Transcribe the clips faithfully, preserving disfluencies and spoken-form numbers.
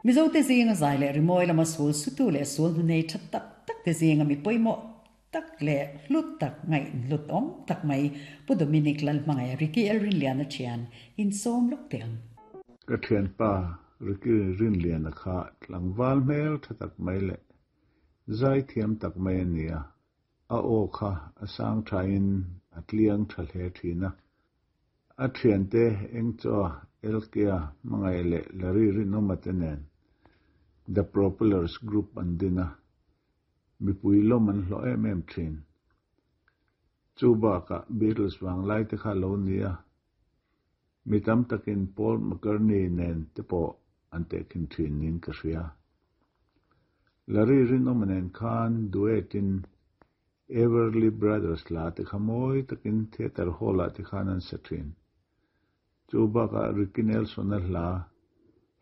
Mizote zinga zai leh rimawi lama sul sutu leh sul hnu nei tha tak tak te zinga mi pawimawh tak leh hlut tak ngaih hlut awm tak mai Pu Dominic Lalhmangaih Ricky L Rinliana thian insawm lawk teh ang. Ka thianpa Ricky Rinliana kha tlangval hmel tha tak mai leh zai thiam tak mai a ni a, a aw kha a sang thain a tliang tha hle thin a. A thiante Engchaw, Elkea, Hmangaih leh Larry Rinawma te nen The Propellers Group an din a, mipui lawm an hlawh em em thin. Chu bakah Beatles vanglai te kha lo ni a, mi tam takin Paul McCartney nen te pawh an tehkhin thin niin ka hria. Larry Rinawma nen khan duet in Everly Brothers hla te kha mawi takin theatre hall ah te khan an sa thin. Chu bakah Ricky Nelson a hla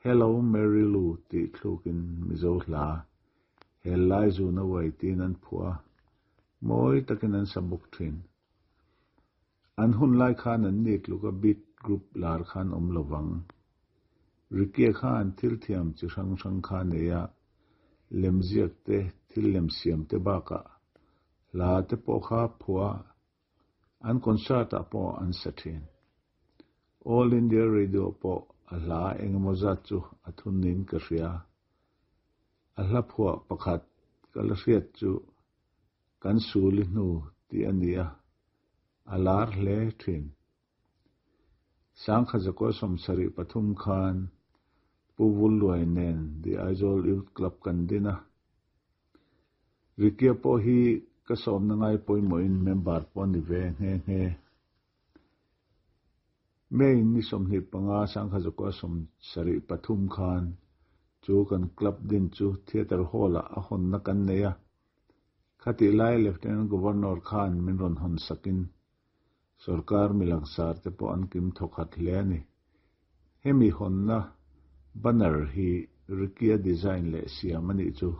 Hello Mary Lou tih thlukin Mizo hla Hel lai zuna uai tiin an phuah a, mawi takin an sa bawk thin. An hun lai khan an ni tluka beat group lar khan awm lovang. Ricky khan thil thiam chi hrang hrang kha nei a, lemziak te, thil lem siam te bakah hla te pawh kha phuah a, an concert ah pawh an sa thin. All India Radio pawh a hla engemaw zat chu a thun niin ka hria. A hla phuah pakhat ka la hriat chu Kan Suli hnu tih a ni a, a lar hle thin. Sangkhat zakua sawmsarih pathum khan Pu Vulluai nen The Aizawl Youth Club kan din a. Ricky-a pawh hi ka sawmna ngai pawimawhin member pawh a ni ve nghe nghe. May ni sawmhnih panga Sangkhat zakua sawmsarih pathum khan chu kan club din chu Theatre Hall-ah a hawnna kan nei a. Khatih lai Lieutenant Governor khan min rawn hawn sakin sorkar milangsar te pawh an kim thawkhat hle a ni. Hemi hawnna banner hi Ricky-a design leh siam a nih chu.